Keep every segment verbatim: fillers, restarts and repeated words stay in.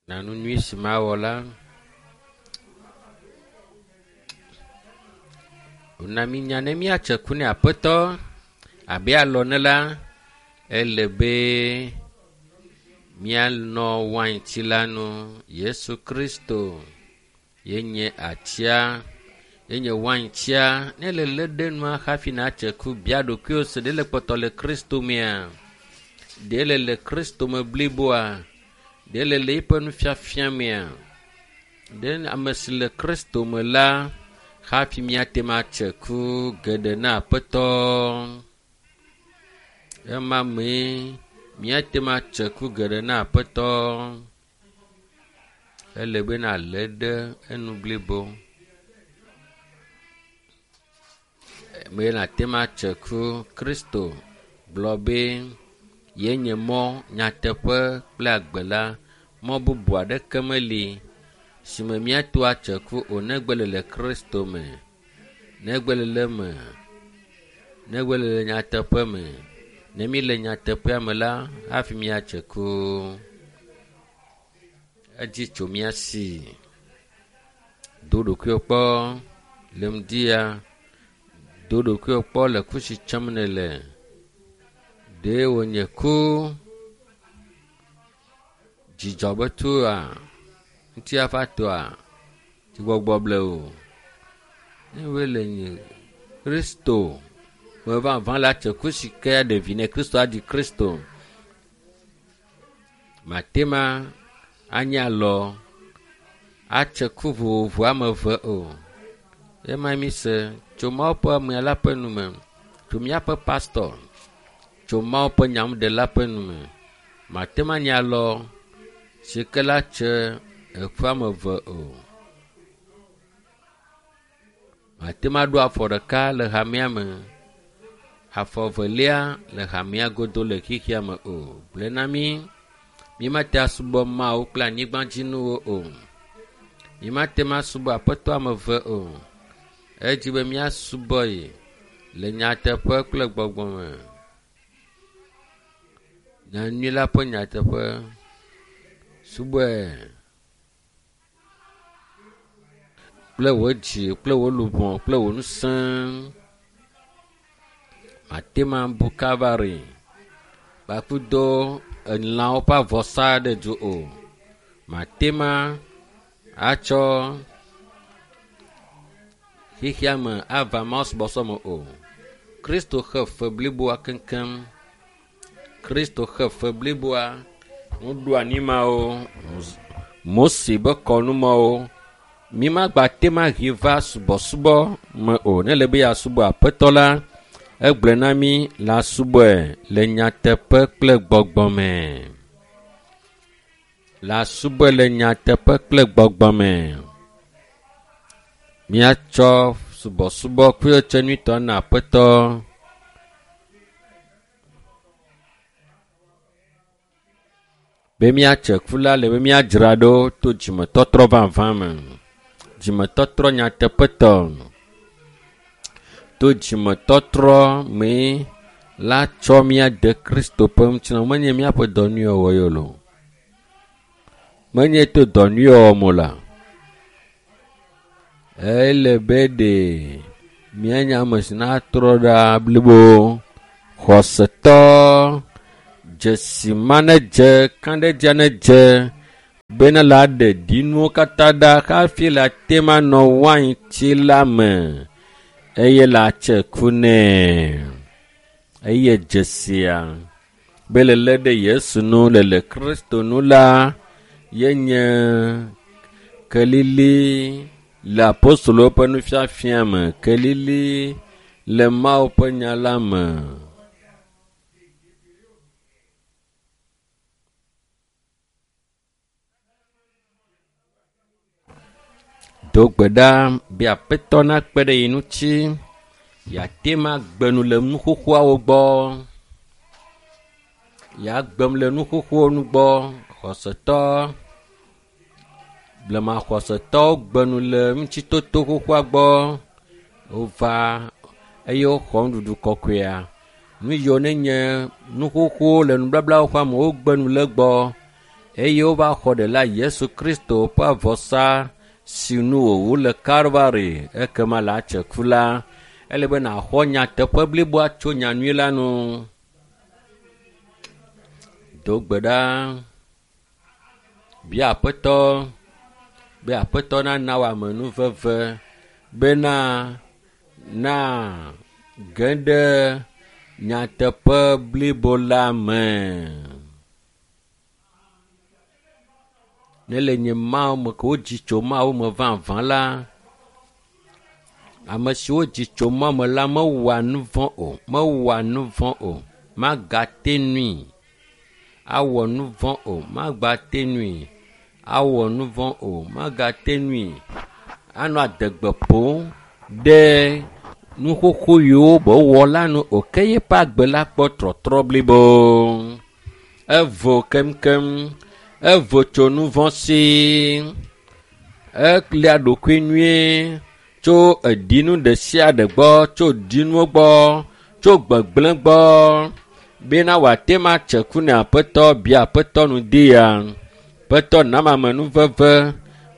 Na nu nyui si mawɔ la, wòna mínya ne míatse ku ne Aƒetɔ abe alɔ ne la, ele be míanɔ wainti la nu. Yesu Kristo ye nye atia, ye nye waintia. Ne le lé ɖe nua hafi natse ku, bia ɖokuiwò se ɖe le kpɔtɔ le Kristo mea? Ɖe le le Kristo me bliboa? Ɖe le le eƒe nufiafia mea? Ɖe ame si le Kristo me la hafi míate ŋu atse ku geɖe na Aƒetɔ. Ema mee míate ŋu atse ku geɖe na Aƒetɔ. Ele be nàlé ɖe enu blibo. Me nàte ŋu atse ku. Kristo gblɔ be yenye mɔ, nyateƒe kple agbe la. Mɔ bubu aɖeke meli si me míato atse ku o negbe le le Kristo me, negbe le le eme, negbe le le nyateƒe me. Ne míle nyateƒea me la, hafi míatse ku. Edzi tso mía si. Do ɖokuiwò kpɔ le ŋdia. Do ɖokuiwò kpɔ le ku si tsem nèle. Ɖe wònye ku dzidzɔ be tua, ŋutifafatɔa, dzigbɔgbɔ ble o. Ne woe le nye Kristo me vavã la tse ku si ke aɖe vi ne Kristo aɖi Kristo. Mate ma anye alɔ atse ku vovovo ame eve o. Ema mi se tso Mawu ƒe amea la ƒe nu me, tso míaƒe pastɔ, tso Mawu ƒe nyanuɖela ƒe nu me. Mate ma nye alɔ si ke la tse eku ame eve o. Mate ma ɖo afɔ ɖeka le hamea me, afɔ evelia le hamea godo le xexea me o. Gblɔe na mí, mímate asubɔ Mawu kple anyigbadzinuwo o. Mímate ŋu asubɔ Aƒetɔ ame eve o. Edzi be míasubɔe le nyateƒe kple gbɔgbɔ me. Nyanyui la ƒe nyateƒe. Subɔe kple wò dzi kple wò luʋɔ kple wò ŋusẽ. Mate ŋu abu Kalvari kpakple elãwo ƒe avɔsa ɖe du o. Mate ŋu atsɔ xexea me ava mawusubɔsubɔ me o. Kristo xe fe bliboa keŋkeŋ. Kristo xe fe bliboa. Nuɖoanyi mawo, Mose be kɔnu mawo, mímagba te ŋu ahe va subɔsubɔ me o. Ne ele be yeasubɔ Aƒetɔ la, egblɔe na mí le asubɔe le nyateƒe kple gbɔgbɔ me. Le asubɔe le nyateƒe kple gbɔgbɔ me. Míatsɔ subɔsubɔ kple nyuitɔ na Aƒetɔ. Be míatse ku la le be míadzra ɖo to dzimetɔtrɔ vavã me. Dzimetɔtrɔ nyateƒetɔ. To dzimetɔtrɔ mee la tsɔ míade Kristo ƒe ŋutilã. Menye míaƒe dɔ nyuiwɔwɔ ye o. Menye to dɔ nyuiwɔwɔ me o la. Ele be ɖe míanye ame si natrɔ ɖa blibo. Xɔsetɔ dzesi ma nedze, kãɖedzia nedze bena la ɖe ɖinuwo katã ɖa hafi la te ma nɔ wainti la me eye la tse ku nɛ. Eye dzesia be le lé ɖe Yesu nu le le Kristo nu la yenye kelili le apostolowo ƒe nufiafia me, kelili le Mawu ƒe nya la me. Do gbe ɖa be Aƒetɔ nakpe ɖe ye ŋuti yeate ŋu agbe nu le nu xoxoawo gbɔ. Yeagbem le nu xoxowo nu gbɔ. Xɔsetɔ, blema xɔsetɔwo gbe nu le ŋutitoto xoxoa gbɔ. Wova eye woxɔ nuɖuɖu kɔkɔea. Nu yiwo nenye nu xoxowo le nubablawo ƒe ame wogbe nu le egbɔ eye wova xɔ ɖela Yesu Kristo ƒe vɔsa si nu wòwu le Kalvari ekema le atse ku la ele be nàxɔ nyateƒe bliboa tso nyanyui la nu. Do gbe ɖa bia Aƒetɔ be Aƒetɔ nana wò amenuveve bena na ge ɖe nyateƒe blibo la me. Ne le nye Mawu me ke wodzi tso Mawu me vavã la, ame siwo dzi tso Mawu me la mewɔa nu vɔ̃ o, mewɔa nu vɔ̃ o, magate nui awɔ nu vɔ̃ o, magbate nui awɔ nu vɔ̃ o, magate nui anɔ adegbe ƒom ɖe nu xoxo yiwo be wɔ la nu o ke yeƒe agbe la kpɔ trɔtrɔ blibo. Evo keŋkeŋ, evo tso nu vɔ̃ si, elia ɖokui nyuie tso edinu ɖe sia ɖe gbɔ, tso dinuwo gbɔ, tso gbegblẽ gbɔ bena wòate ma tse ku ne Aƒetɔ bia Aƒetɔ nu di ya. Aƒetɔ nam amenuveve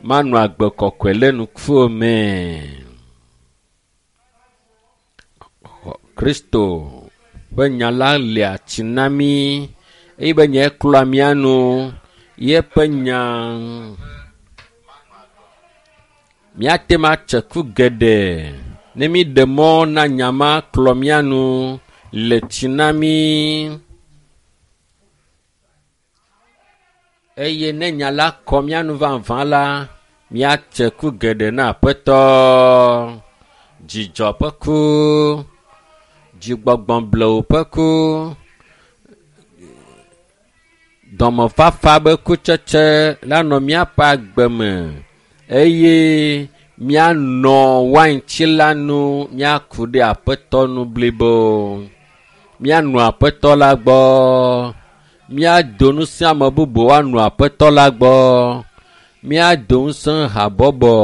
manɔ agbe kɔkɔe le nukuwo me. Kristo ƒe nya la lia tsi na mí eye be nye klɔa mía nu yeƒe nya. Míate ma tse ku geɖe ne míɖe mɔ na nya ma klɔ mía nu le tsi na mí. Eye ne nya la kɔ mía nu vavã la, míatse ku geɖe na Aƒetɔ. Dzidzɔ ƒe ku, dzigbɔgbɔ blewu ƒe ku, dɔmefafa ƒe kutsetse la nɔ míaƒe agbe me eye míanɔ waintsi la nu, míaku ɖe Aƒetɔ nu blibo. Míanɔ Aƒetɔ la gbɔ. Míado ŋusẽ ame bubu woanɔ Aƒetɔ la gbɔ. Míado ŋusẽ habɔbɔ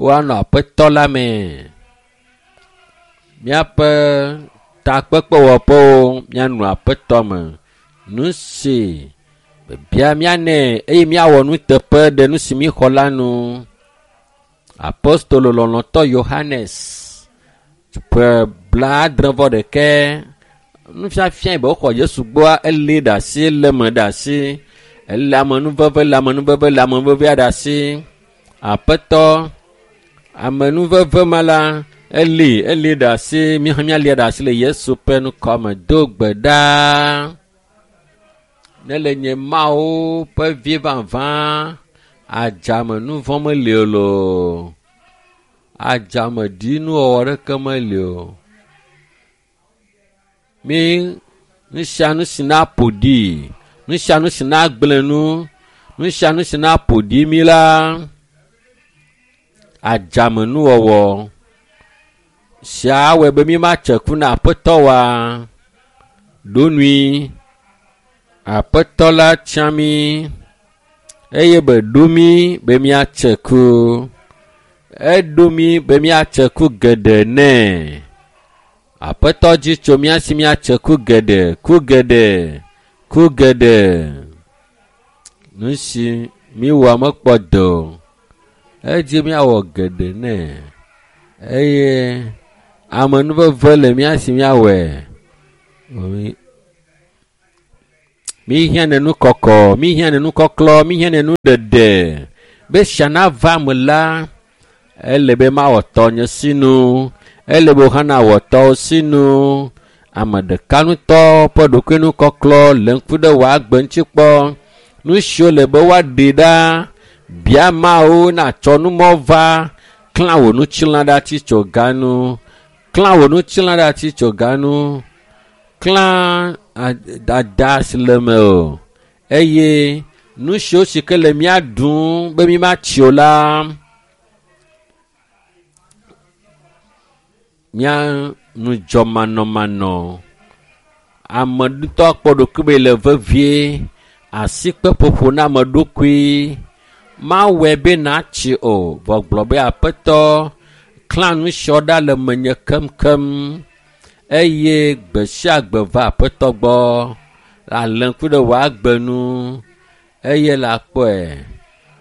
woanɔ Aƒetɔ la me. Míaƒe takpekpewɔƒewo míanɔ Aƒetɔ me. Nu si bia míanɛ eye míawɔ nuteƒe ɖe nu si míxɔ la nu. Apostolo lɔlɔ̃tɔ Yohanes ƒe blaadre vɔ ɖekɛ nufiafia yi be woxɔ Yesu gbɔa elé ɖe asi, elé eme ɖe asi, ele amenuveve, le amenuveve, le amenuvevea ɖe asi. Aƒetɔ amenuveve ma la eli eli ɖe asi, míawo míalia ɖe asi le Yesu ƒe ŋkɔme. Do gbe ɖa ne le nye Mawu ƒe vi vavã adzame nu vɔ̃ meli o loo, adzame ɖinuwɔwɔ ɖeke meli o. Mi nu sia nu si na ƒo ɖi, nu sia nu si na gblẽ nu, nu sia nu si na ƒo ɖi mi la, adzame nuwɔwɔ sia awɔe be mi matse ku na Aƒetɔ wa. Ɖo nui Aƒetɔ la tia mí eye be ɖo mí be míatse ku. Eɖo mí be míatse ku geɖe nɛ. Aƒetɔ dzi tso mía si míatse ku geɖe, ku geɖe, ku geɖe. Nu si míwɔ mekpɔ do o. Edzi míawɔ geɖe nɛ eye amenuveve le mía si míawɔe. Míhiã ne nu kɔkɔ, míhiã ne nu kɔklɔ, míhiã ne nu ɖeɖe. Be sia nava me la, ele be mawɔ tɔnye sinu, ele be wò hã nawɔ tɔwò sinu. Ame ɖeka ŋutɔ ƒe ɖokuinukɔklɔ le ŋku ɖe wò agbe ŋuti kpɔ. Nu siwo le be woaɖe ɖa, bia Mawu natsɔ numɔ va, klã wò ŋutilã ɖe atitsoga nu, klã wò ŋutilã ɖe atitsoga nu, klã dada si le me o eye nu siwo si ke le mía ɖum be mímatsi o la, mía ŋudzɔmanɔmanɔ. Ame ŋutɔ kpɔ ɖokui be le vevie, asikpeƒoƒo na ame ɖokui mawɔe be natsi o. Vɔ gblɔ be Aƒetɔ klã nu siawo ɖa le menye keŋkeŋ eye gbe sia gbe va Aƒetɔ gbɔ. Ale ŋku ɖe wò agbe nu Eye la kpɔe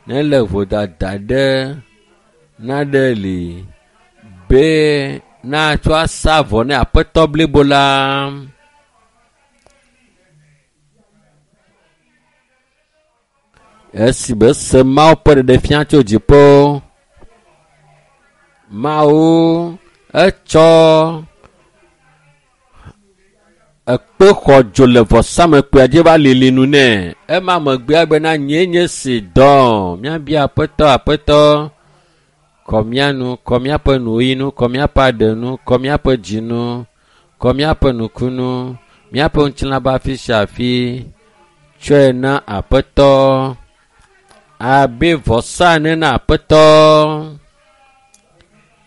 ne le vodada ɖe naɖe li be natsɔ asa vɔ ne aƒetɔ blibo la. Esi be se Mawu ƒe ɖeɖefia tso dziƒo, Mawu etsɔ ekpe xɔ dzo le vɔsamekpea dzi va lili nu nɛ. Ema megbea bena nyee nye si dɔ. Míabia aƒetɔ aƒetɔ kɔ mía nu, kɔ míaƒe nuyi nu, kɔ míaƒe aɖe nu, kɔ míaƒe dzi nu, kɔ míaƒe nukunu, míaƒe ŋutilã be afi sia afi. Tsɔe na aƒetɔ abe vɔsa ene na aƒetɔ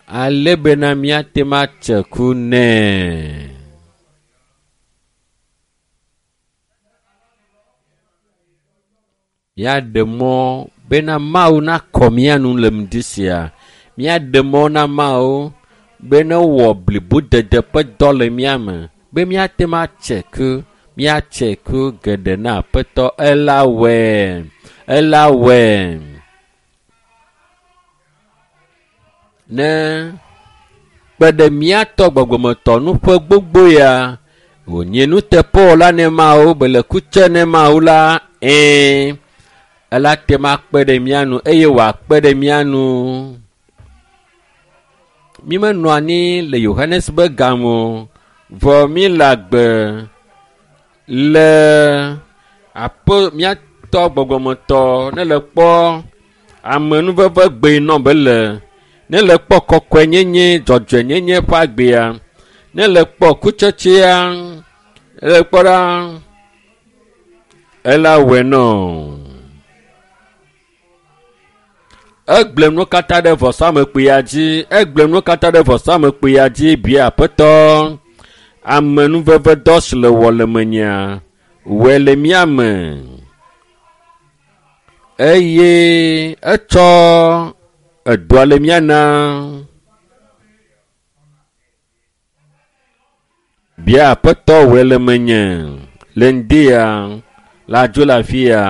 ale bena míate ŋu atse ku nɛ. Míaɖe mɔ bena Mawu nakɔ mía nu le ŋdi sia. Míaɖe mɔ na Mawu be ne wɔ blibodede ƒe dɔ le mía me be míate ŋu atse ku, míatse ku geɖe na aƒetɔ. Ela wɔe, ela wɔe. Ne kpe ɖe míatɔ gbɔgbɔmetɔ nu ƒe gbogbo ya wònye nuteƒewɔla ne Mawu be le kutse ne Mawu la, ɛ̃, ela te ŋu akpe ɖe mía nu eye wòakpe ɖe mía nu. Mi menɔ anyi le Yohanes be game o, vɔ mi le agbe le aƒe míatɔ gbɔgbɔmetɔ ne le kpɔ amenuveve gbe nɔ be le ne le kpɔ kɔkɔenyenye dzɔdzɔenyenye ƒe agbea ne le kpɔ kutsetsea le kpɔ ɖa ela wɔe nɔ. Egblẽ nu katã ɖe vɔsamekpuia dzi, egblẽ nu katã ɖe vɔsamekpuia dzi bia aƒetɔ amenuveve dɔ si le wɔ le menyea wɔe le mía me. Eye etsɔ edɔa le mía na. Bia aƒetɔ wɔe le menye le ŋdi ya le adzo le afi ya.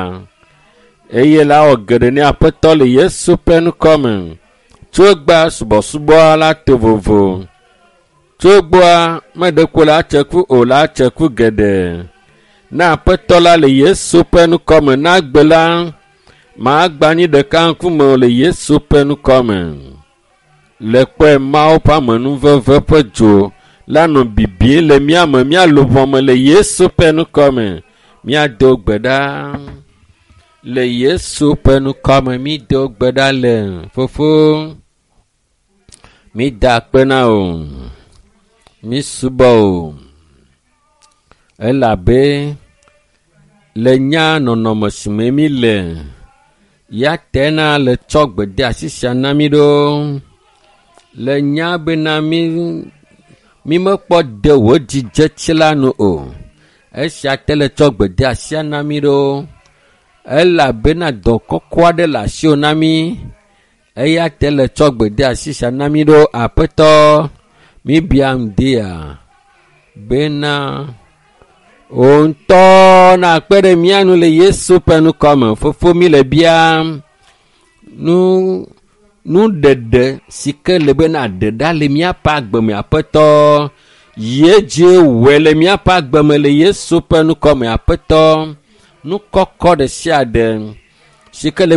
Eye la wɔ geɖe ne aƒetɔ le Yesu ƒe ŋkɔ me. Tso egbea subɔsubɔ la to vovo. Tso egbea meɖe ko la tse ku o la tse ku geɖe. Na aƒetɔ la le Yesu ƒe ŋkɔ me na gbe la magba anyi ɖeka ŋkume o le Yesu ƒe ŋkɔ me. Le kpɔe Mawu ƒe amenuveve ƒe dzo la nɔ bibim le mía me, mía luʋɔ me le Yesu ƒe ŋkɔ me. Míado gbe ɖa le Yesu ƒe ŋkɔ me. Mído gbe ɖa le fofo. Mída akpe na wò. Mísubɔ wò. Elabe le nya nɔnɔme si me mí le ya tena le tsɔ gbedeasi sia na mí ɖo. Le nya bena mí mí mekpɔ de wò dzidzetsi la nu o. Esia te le tsɔ gbedeasia na mí ɖo. Elabena dɔ kɔkɔ aɖe le asiwò na mí. Eya te le tsɔ gbedeasi sia na mí ɖo. Aƒetɔ, míbia ŋdia bena wò ŋutɔ nakpe ɖe mía nu le Yesu ƒe ŋkɔ me. Fofo mí le biam nu nuɖeɖe si ke le be naɖe ɖa le míaƒe agbe me aƒetɔ. Yi edzi wɔe le míaƒe agbe me le Yesu ƒe ŋkɔ me aƒetɔ. Nu kɔkɔ ɖe sia ɖe si ke le